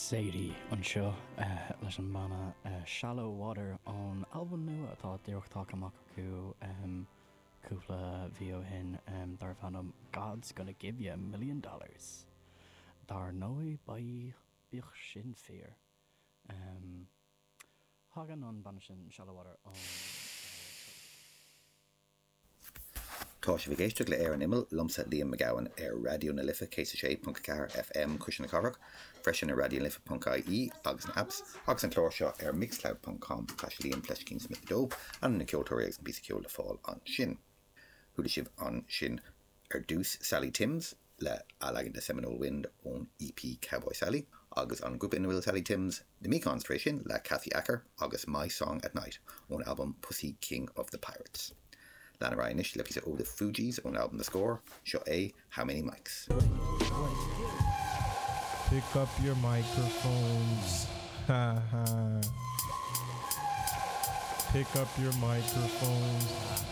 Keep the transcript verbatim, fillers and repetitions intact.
Sadie anseo uh, leis an mbanna uh, Shallow Water ón albam nua atá díreach tagtha amach acu um, cúpla mhí ó shin um, darb ainm God's gonna give you a million dollars. Dar ndóigh bíodh sin fíor. Um, Tagann an banna sin Shallow Water ón Tá sibh ag éisteacht le Ar an Imeall liomsa Liam Mac Gabhann ar Raidió na Life céad a sé ponc a ceathair FM Cuisle na Cathrach, freisin ar raidiolife.ie agus na apps agus an clár seo ar mixcloud.com Liam fleiscín Smith dó an na ceoltóirí agus an píosa ceoil le fáil ansin. Chuala sibh ansin ar dtús Sally Timms le leagan de Seminole Wind ón EP Cowboy Sally, agus an grúpa ina bhfuil Sally Timms The Mekons tar éis sin le Kathy Acker agus My Song at Night ón album Pussy King of the Pirates. Lean anois le píosa ó The Fugees ón album The Score, seo é How Many Mics. Pick up your microphones. Ha ha. Pick up your microphones.